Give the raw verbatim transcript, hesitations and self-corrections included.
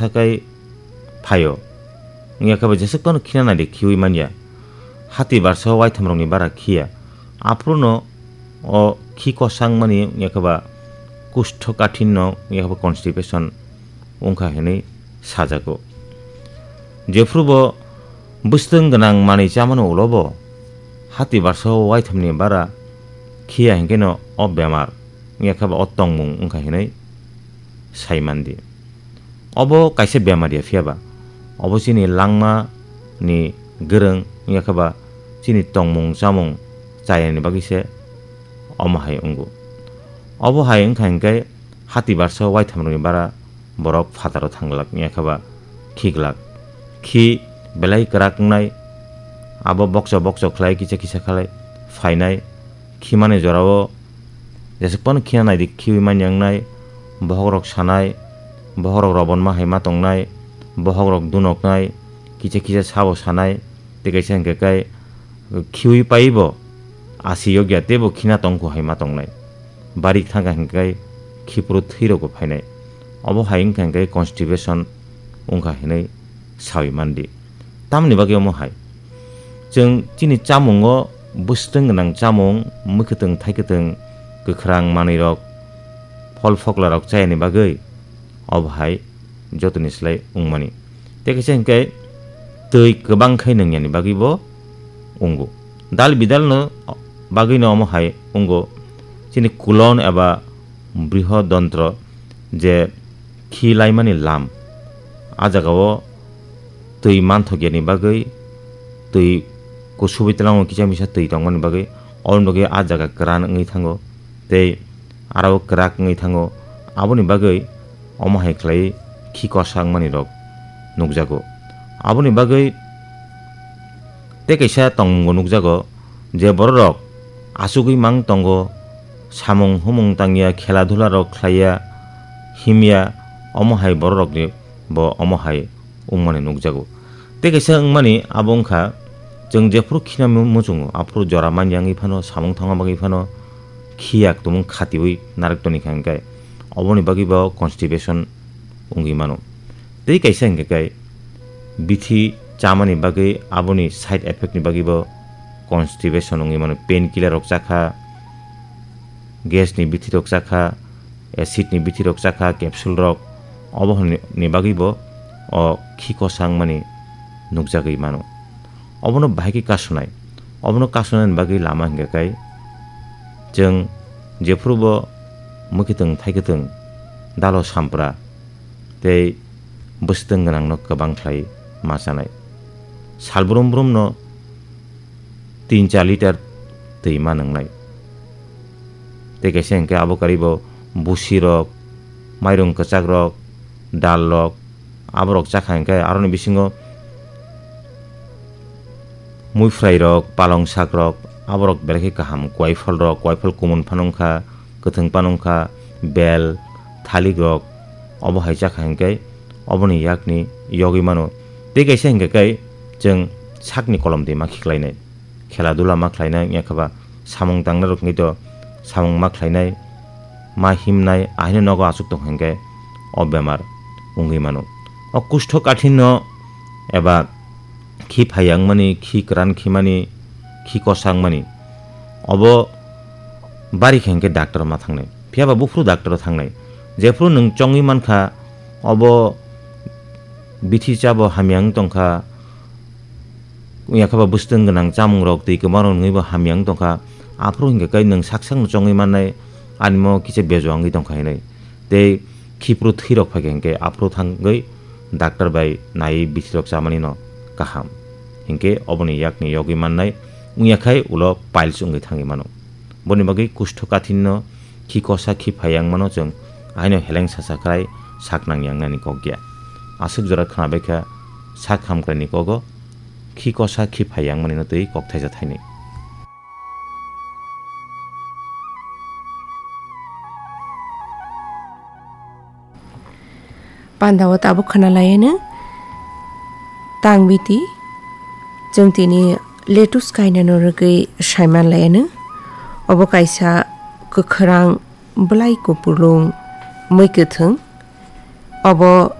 sakai phaio. Wngya khe bo jeswk phano khina naidi khiwi manya. Hati barsa o waitham rokni bara khiya. Aphuru no o khi kosang mani wngya khe ba kusto kathin no wngya khe ba constipation wngkha hinwi sajago. Jephuru bo bwswtwng gwnang manwi chamani ulo bo hati barsa o waithamni bara khiya hinkhe no o bemar wngya khe ba o tongmung wngkha hinwi sai mandi. Obo kaisa bemar ya phiya ba, obo chini langma ni gwrwng wngya khe ba chini tongmung chamung chayani bagwi se omo hai wngo. Obo hai wngkha hinkhe hati barsa waithamrokni bara borok phataro thang glak wngya khe ba khi glak. Khi belai kwrak wngnai, abo bokcha bokcha khlai kisa kisa khlai phainai. Khimani jorao jeswk phano khina naidi khiwi manya wngnai, bokhok rok sanai, bokhok rok robonma hai ma tongnai, bokhok rok dunoknai, kisa kisa sabo sanai, tei kaisa hinkhe kai khiwi paibo asi yokya teibo khina tongkhu hai ma tongnai. Barik thangkha hinkhe kai khiphuru thwi rokbo phainai. Obo hai wngkha hinkhe constipation wngkha hinwi sawi mandi. Tamoni bagwi omo hai? Chwng chini chamungo bwswtwng gwnang chamung, mwkhwtwng thaikwtwng, kwkhrang manwirok, phol phoklarok chayani bagwi obo hai jotoni slai wngmani. Tei kaisa hinkhe twi kwbang khai nwngyani bagwibo wngo. Dal bidalno bagwino omo hai wngo chini kulon eba brihodontro je khi laimani lam. A jagao twi manthokya ni bagwi, twi kusubui tlango kisa misa twi tongmani bagwi, oboni bagwi a jaga kwran wngwi thango tei aro kwrak wngwi thango. Aboni bagwi omo hai khlai khi kosa wngmani rok nukjago. Aboni bagwi tei kaisa tongmungo nukjago je bororok achugwi mang tongo, samung humung tangya, khela dhula rok khlaiya, himya, omo hai bororokni bo omo hai wngmani nukjago. Tei kaisa wngmani abo wngkha, chwng jephuru khina mu-, muchungo, aphuru jora manya wngwi phano, samung thangma bagwi phano, khiyak tumung khatiwi narwk toni kha hinkhe, oboni bagwi bo constipation wngwi mano. Tei kaisa hinkhe kai bithi chamani bagwi aboni side effect ni bagwi bo constipation wngwi mano, painkiller rok chakha, gas ni bithi rok chakha, acid ni bithi rok chakha, capsule rok, obo hwnni bagwi bo o khi kosa wngmani nukjagwi mano. Obono bahai khe kasonai. Obono kasonani bagwi lama hinkhe kai chwng jephuru bo mwkhwtwng thaikwtwng dalo sampra tei bwswtwng gwnangno kwbang khlai ma chanai. Sal brum brumno tin char litre twi ma nwngnai. Tei kaisa hinkhe abo karwi bo busi rok, mairung kwchak rok, dal rok, aborok chakha hinkhe aroni bisingo muiphwrai rok, palong sak rok, aborok belai khe kaham, kuaiphal rok, kuaiphal kumun phano wngkha, kwthwng phano wngkha, bel, thalik rok, obo hai chakha hinkhe oboni yakni yogwi mano. Tei kaisa hinkhe kai chwng sakni kolom twi ma khiklainai. Khela dula ma khlainai, wngya khe ba samung tangnai rok wngwi to samung ma khlainai, ma himnai, ahaino nogo achuk tong hinkhe o bemar wngwi mano. O kusto kathinno eba khi phaiya wngmani, khi kwran khimani, khi kosa wngmani, obo bari khe hinkhe doctor ma thangnai. Phiya ba buphuru doctor o thangnai. Jephuru nwng chongwi mankha, obo bithi chabo hamya wng tongkha, wngya khe ba bwswtwng gwnang chamungrok twi kwmarok nungwi bo hamya wng tongkha. Aphuru hinkhe kai nwng sak sakno chongwi mannai, animo kisa bejua wngwi tongkha hinwi. Tei khiphuru thwirok phaikha hinkhe aphuru thangwi doctor bai naiwi bithirok chamanino kaham. Hinkhe oboni yakni yogwi mannai wngya khai ulo piles wngwi thangwi mano. Boni bagwi kusto kathinno khi kosa khi phaiya wngmano chwng aino heleng sasa khlai sak nangya wngnani kok ya. Aswk jora khna bai kha sak hamkraini kogo khi kosa khi phaiya wngmanino twi kok thaisa thainwi. Pandao tabuk khna laiano tang biti chwng tini lettuce kainano rwgwi saiman laiano. Obo kaisa kwkhwrang bwlai kupulung mwi kwthwng. Obo